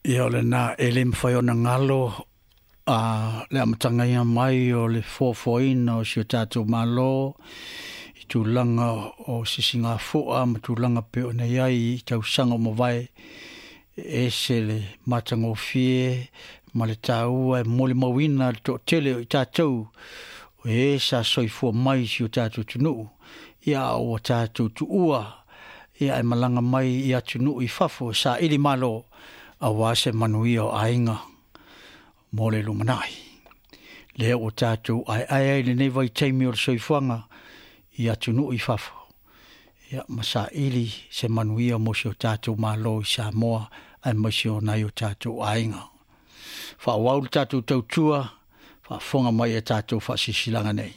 Ia o lena e le mafai ona galo a le amataga mai o le foafoaina o si o tatou Malo i tulaga o sisigafua ma tulaga pei ona i ai i tausaga ua mavae. E ese le matagofie ma le taua e molimauina le toatele o i tatou o e sa soifua mai i si o tatou atunuu, ia a ua tatou tuua ia ae malaga mai i atunuu i fafo e saili malo aua se manuia o aiga mo le lumanai. Lea ua tatou aeae ai lenei vaitaimi o le soifuaga i atunuu i fafo, ia ma saili se manuia mo si o tatou Malo i Samoa aemaise o nai o tatou aiga. Faaauau le tatou tautua, faafofoga mai i a tatou faasilasilaga nei.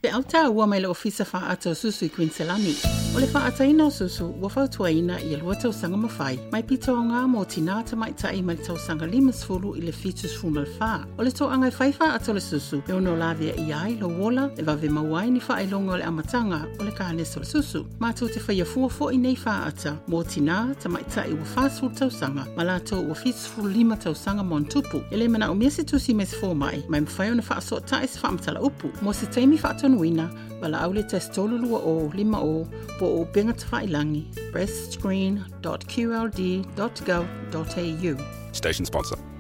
Feau taua mai le Ofisa Faaata o Susu i Kuiniselani. O le faaataina o susu ua fautuaina ia 2 tausaga ma fai, mai pito aoga mo tinā tamaitai mai le tausaga 50 i le 74. O le toaga e fai faaata o le susu e ono laveaia ai lou ola e vave maua ai ni faailoga o le amataga o le kanesa o le susu. Matou te faia fua foi nei faaata mo tinā tamaitai ua 40 tausaga ma latou ua 75 tausaga ma ona tupu. E le manaomia se tusi mai se fomai, ma e mafai ona faasootai se faamatala-upu. Mo se taimi faatonuina, valaau i le 1 320 50 po o upega tafailagi breastscreen.qld.gov.au. Station sponsor.